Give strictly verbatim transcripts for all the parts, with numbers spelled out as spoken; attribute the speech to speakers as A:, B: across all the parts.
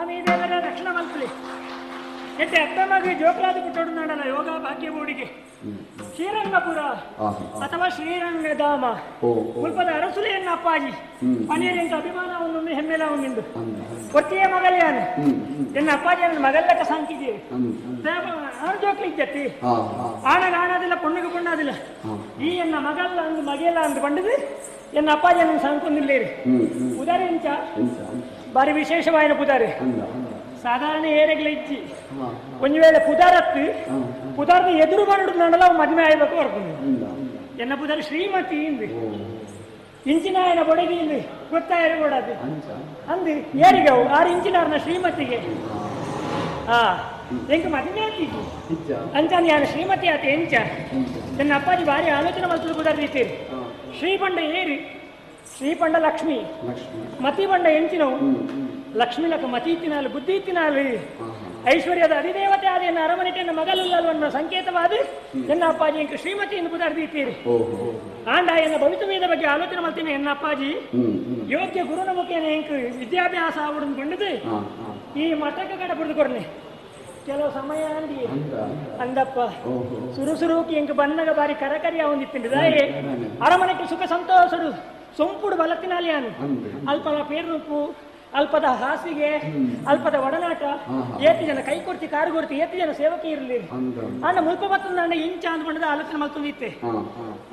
A: ಸ್ವಾಮಿ ದೇವರ ರಕ್ಷಣೆ ಮಲ್ಪಲಿ. ಎತ್ತೆ ಅತ್ತಮಗೆ ಜೋಕಲಾದ ಪುಟ್ಟೋಡು ಯೋಗ ಭಾಗ್ಯ ಬೋಡಿಗೆ ಶ್ರೀರಂಗಪುರ ಅಥವಾ ಶ್ರೀರಂಗಧಾಮ ಮುಲ್ಪದ ಅರಸುಲೆಯನ್ನ ಅಪ್ಪಾಜಿ ಪನೀರಿಂಕ ಅಭಿಮಾನ ಒಂದು ಹೆಮ್ಮೆಲ ಒಂದಿಂದು ಒತ್ತಿಯ ಮಗಲ್ಯಾನ ಎನ್ನ ಅಪ್ಪಾಜಿ ನನ್ನ ಮಗಲ್ಲಕ್ಕ ಸಾಂಕಿದ್ದೀವಿ ಆರು ಜೋಕ್ಲಿಜ್ಜತ್ತಿ ಆಣಗ ಆಣಾದಿಲ್ಲ ಪೊಣ್ಣಗೆ ಪೊಣ್ಣಾದಿಲ್ಲ ಈ ಎನ್ನ ಮಗಲ್ಲ ಅಂದು ಮಗೆಲ್ಲ ಅಂದು ಪಂಡದು ಎನ್ನ ಅಪ್ಪಾಜಿ ನನ್ನ ಸಾಂಕೊಂದಿಲ್ಲೇರಿ ಉದಾರಿ ಎಂಚ ಬಾರಿ ವಿಶೇಷವಾಯಿನ ಪುದಾರಿ ಸಾಧಾರಣ ಏರೆಗ್ಲ ಇಜ್ಜಿ ಒಂಜಿ ವೇಳೆ ಪುದಾರತ್ತು ಪುದಾರದ ಎದುರು ಬರಡು ನಡಲ ಮದುವೆ ಆಯ್ಬೇಕು ಬರ್ಕೊಂಡು ಎನ್ನ ಪುದಾರಿ ಶ್ರೀಮತಿ ಇಂದು ಇಂಚಿನಾಯನ ಬೊಡಗಿ ಇಂದು ಗೊತ್ತಾಯರು ಕೊಡದು ಅಂದು ಏರಿಗವು ಆರು ಇಂಚಿನಾರನ ಶ್ರೀಮತಿಗೆ ಹಾ ಎಂಕ ಮದುವೆ ಆತಿದ್ದು ಅಂಚಾನ ಯಾರು ಶ್ರೀಮತಿ ಆತ ಎಂಚ ನನ್ನ ಅಪ್ಪಾಜಿ ಭಾರಿ ಆಲೋಚನೆ ಮಲ್ತದ ಪುದಾರ್ ರೀತಿ ಶ್ರೀಪಂಡ ಏರಿ ಶ್ರೀಪಂಡ ಲಕ್ಷ್ಮಿ ಮತಿ ಬಂಡ ಎಂಚಿನವು ಲಕ್ಷ್ಮಿ ಲಕ್ಕ ಮತಿ ಇತ್ತಿನಾಲು ಬುದ್ಧಿ ಇತ್ತಿನಾಲು ಐಶ್ವರ್ಯದ ಅಧಿದೇವತೆ ಆದ ಎನ್ನ ಅರಮನೆಟೆನ್ನ ಮಗಲುಲ್ಲಲ್ವನ್ನ ಸಂಕೇತವಾದ ಎನ್ನ ಅಪ್ಪಾಜಿ ಎಂಕ ಶ್ರೀಮತಿ ಎಂದು ಪುದಾರ್ದೀತೀರಿ ಆಂಡ ಎನ್ನ ಭವಿತವ್ಯದ ಬಗ್ಗೆ ಆಲೋಚನೆ ಮಾಡ್ತೀನಿ ಎನ್ನ ಅಪ್ಪಾಜಿ ಯೋಗ್ಯ ಗುರುನ ಮುಖೇನ ಎಂಕ ವಿದ್ಯಾಭ್ಯಾಸ ಆವಡನ್ನು ಬಂಡದು ಈ ಮಠಕ್ಕೆ ಕಡೆ ಪುಡ್ದು ಕೊಡ್ನೆ ಕೆಲವು ಸಮಯ ಅಂದಿ ಅಂದಪ್ಪ ಸುರುಸುರುಕಿ ಎಂಕ ಬನ್ನಗ ಬಾರಿ ಕರಕರಿ ಅವಂದಿತ್ತಿಂಡು ದಾಯೆ ಅರಮನೆಗೆ ಸುಖ ಸಂತೋಷಡು ಸೊಂಪುಡು ಬಲತ್ತಿನಾಲಿಯಾನು ಅಲ್ಪಲ ಪೇರ್ನುಪ್ಪು ಅಲ್ಪದ ಹಾಸಿಗೆ ಅಲ್ಪದ ಒಡನಾಟ ಏತಿ ಜನ ಕೈ ಕೊಡ್ತಿ ಕಾರು ಕೊಡ್ತಿ ಏತಿ ಜನ ಸೇವಕಿ ಇರಲಿ ಅಂಡ ಮುಲ್ಪ ಬತ್ತಂದ ಇಂಚ ಅಂದ್ಕೊಂಡದ ಆಲೋಚನೆ ಮಲ್ತೊಂದಿತ್ತೆ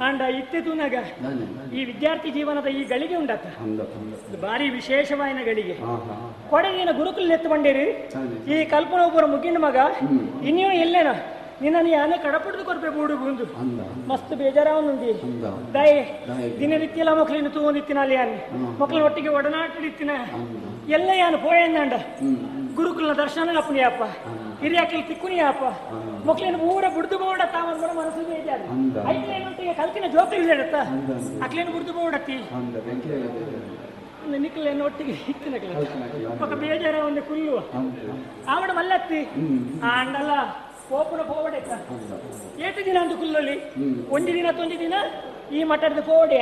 A: ಅಂಡ ಇತ್ತೆ ತೂನಾಗ ಈ ವಿದ್ಯಾರ್ಥಿ ಜೀವನದ ಈ ಗಳಿಗೆ ಉಂಡಾತ ಭಾರಿ ವಿಶೇಷವಾಯಿನ ಗಳಿಗೆ ಕೊಡಗಿನ ಗುರುಕುಲ ನೆತ್ತು ಬಂಡೇರಿ ಈ ಕಲ್ಪನ ಒಬ್ಬರ ಮುಗಿನ ಮಗ ಇನ್ನೂ ಎಲ್ಲೇನ ನಿನ್ನ ಯಾನೆ ಕಡಪುಡ್ದು ಕೊರ್ಪೆ ಬೂಡುಗುಂದು ಮಸ್ತ್ ಬೇಜಾರಾವನುಂದಿ ದಯೆ ದಿನನಿತ್ಯಲ ಮಕ್ಕಳಿನ ತೂವೊಂದಿತ್ತಿನ ಅಲ್ಲಿ ಯಾನೆ ಮಕ್ಕಳ ಒಟ್ಟಿಗೆ ಒಡನಾಟಡಿತ್ತಿನ ಎಲ್ಲ ಯಾನು ಪೋಯಂದಾಂಡ ಗುರುಕುಲನ ದರ್ಶನ ಅಪ್ಪನಿಯಪ್ಪ ಹಿರಿಯಾಕಲಿ ತಿಕ್ಕುನಿಯಪ್ಪ ಮಕ್ಕಳಿನ ಊರ ಬುಡ್ದು ಬೋಡ ತಾವನ್ ಮನಸ್ಸು ಬೇಜಾರು ಐಕ್ಲೇನೊಟ್ಟಿಗೆ ಕಲ್ತಿನ ಜೋಕಲಿ ಇಡತ್ತ ಅಕ್ಲೇನು ಬುಡ್ದು ಬೋಡತ್ತಿ ನಿಕ್ಕಲೇನು ಒಟ್ಟಿಗೆ ಇತ್ತಿನ ఒక ಬೇಜಾರ ಒಂದು ಕುಲ್ಲು ಆವಡ ಮಲ್ಲತ್ತಿ ಆಂಡಲ್ಲ ಕೋಪನ ಪೋವಡೆ ಏತು ದಿನ ಅಂತ ಕುಲ್ಲಲ್ಲಿ ಒಂಜಿ ದಿನ ತೊಂಜಿ ದಿನ ಈ ಮಠದ ಪೋವಡೆ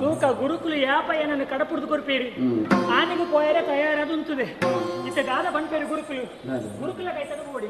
A: ತೂಕ ಗುರುಕುಲು ಯಾಪ ಏನನ್ನು ಕಡಪುಡ್ದು ಕೊರ್ಪೇರಿ ಆನೆಗೂ ಪೋಯರೆ ತಯಾರದು ಉಂತದೆ ಇತ್ತ ದಾದ ಬಂಪೇರಿ ಗುರುಕುಲು ಗುರುಕುಲ ಕೈತದ ಪೋಡಿ.